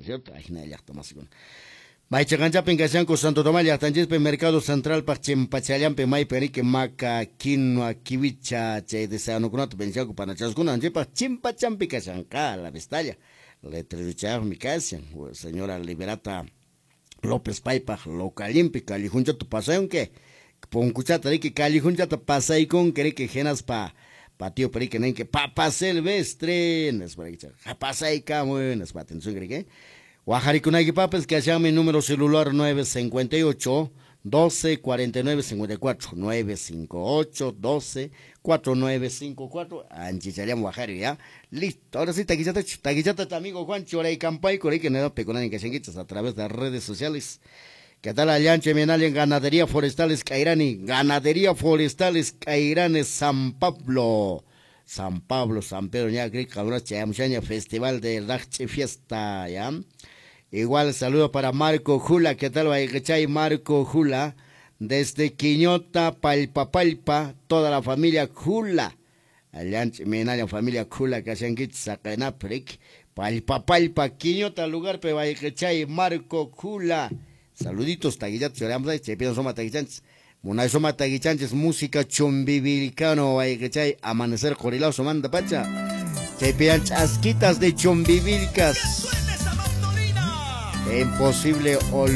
cierto? Ajina llaqta masikuna. Maychaqanchapin kashanku Santo Tomás llaqtanchispi Mercado Centralpaq chimpachallanpi maypi riki maca, quinoa, kiwicha chay deseanukunata venchanku panachaskuna anchipaq chimpachampi kashanqa la vistalla. Letreruchayaqmi kashan señora Liberata López paypaq localimpi callejunchata pasayunki punkuchata riki callejunchata pasaykunki riki hinaspa patio riki ninki Papa Silvestre nispa riki pasaykamuy nispa atención riki. Wajarikunaykipapas kashanmi número celular 958 12 49 54 958 12 49 54 anchichallam wajari ya. Listo, ahora sí taquichata taquichata amigo Juan Choraycampayco riki neda pekunani kashankichis a través de redes sociales. ¿Qué tal Allanche Menal en Ganadería Forestales Cairani? Ganadería Forestales Cairani San Pablo. San Pablo, San Pedro, ya, Festival de Rache Fiesta, ya. Igual saludo para Marco Jula, ¿qué tal? Chay Marco Jula, desde Quiñota, Palpa Palpa, toda la familia Jula. Allanche Menal, familia Jula, Kashankichis, Saqenaprik, Palpa Palpa, Quiñota, lugar, Chay Marco Jula. Saluditos, taguillatos, lloramos ahí, chaypinan soma taguichanchis. Munay soma taguichanchis, música chumbivilcano, chay, amanecer jorilao, somanda pacha. Chaypinan chasquitas de chumbivilcas. Imposible olvidar.